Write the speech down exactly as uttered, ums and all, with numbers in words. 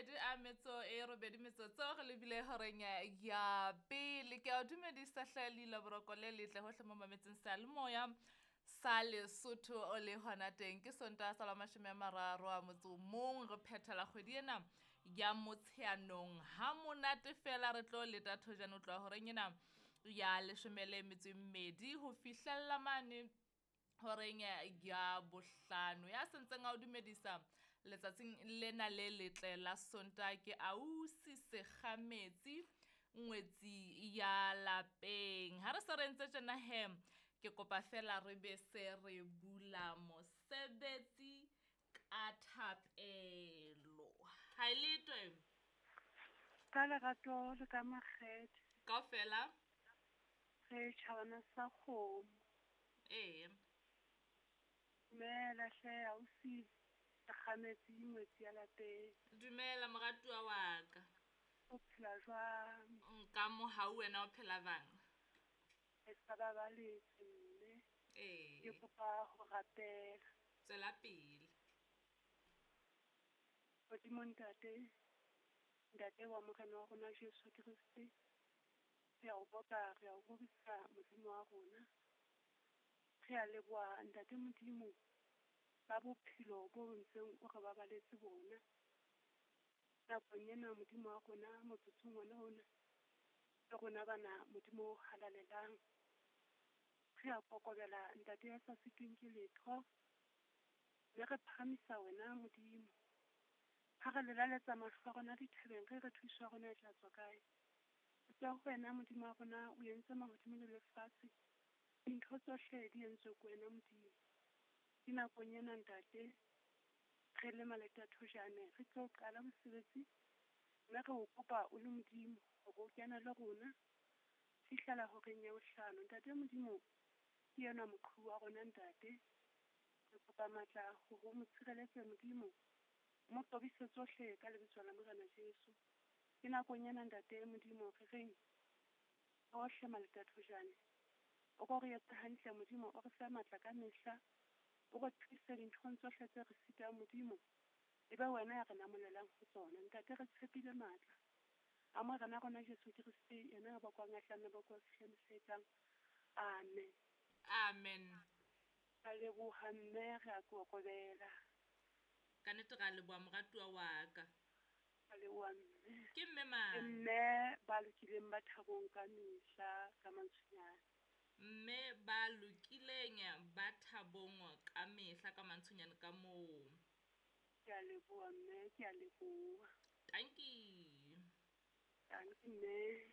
mabedi a metso e robedi metsotso re lebile horeng ya pele. Ke a o dumedisa hle leila boroko le letle hohle mo mametseng seyalemoya sa Lesotho o le hona teng. Ke Sontaha sa la mashome a mararo a motso o mong, re phethela kgwedi ena ya Motsheanong. Ha monate fela re tlo leta thojane ho tloha horeng ena ya leshome le metso e mmedi ho fihlella mane horeng ya bohlano. Ya sentseng a o dumedisa letsatsing lena le letle la Sontaha ke ausi Sekgametsi ngwetsi ya lapeng. Ha re se re ntse tjena he, ke kopa fela re be se re bula mosebetsi ka thapelo. Ha e letwe. Ka lerato le ka makgethe. Kaofela. Re tjhabana sa kgomo. Ee. Dumela hle ausi Sekgametsi ngwetsi ya lapeng. Dumela moratuwa wa ka. O phela jwang? Nka mohau wena o phela jwang? Re sa babaletse mme. Ee. Ke kopa ho rapela. Tswela pele. Modimo ntate, ntate wa Morena wa rona Jesu Kreste, re a o boka, re a o rorisa Modimo wa rona. Re a leboha ntate Modimo ka bophelo bo ntseng o re babaletse bona. Nakong ena Modimo wa rona motsotsong ona ona, le rona bana Modimo o halalelang. Re a kokobela ntate ya sa sitweng ke letho, mme re phahamisa wena Modimo. Ha re lelaletsa mahlo a rona dithabeng, re re thuso ya rona e tla tswa kae? E tswa ho wena Modimo wa rona, o entse mahodimo le lefatshe. Dintho tsohle di entswe ke wena Modimo. Ke nakong ena ntate, re le maletathojane, re tlo qala mosebetsi, mme re o kopa o le Modimo hore o kene le rona fihlela horeng ya bohlano. Ntate Modimo ke enwa moqhubu wa rona ntate. Re kopa matla hore o mo tshireletse Modimo, o mo qobise tsohle ka lebitso la Morena Jesu. Ke nakong ena ntate Modimo re reng bohle maletathojane, o ko re etse hantle Modimo, o re fe matla ka mehla, o re thuse dinthong tsohle tse re sitang Modimo, e be wena ya re namolelang ho tsona. Ntate re tshepile matla a Morena rona Jesu Kreste, yena ya bokwang a tla nna bokwa fihla mehla e tlang. Amen. Amen. Ka leboha mme, re a kokobela. Ka nnete ra leboha moratuwa wa ka. Ka leboha mme. Ke mme mang? Ke mme ba lokileng ba thabong ka mehla ka mantshunyane. Mme ba lokileng ba thabong ka mehla ka mantshunyane ka moo. Ke a leboha mme, ke a leboha. Tanki. Tanki mme.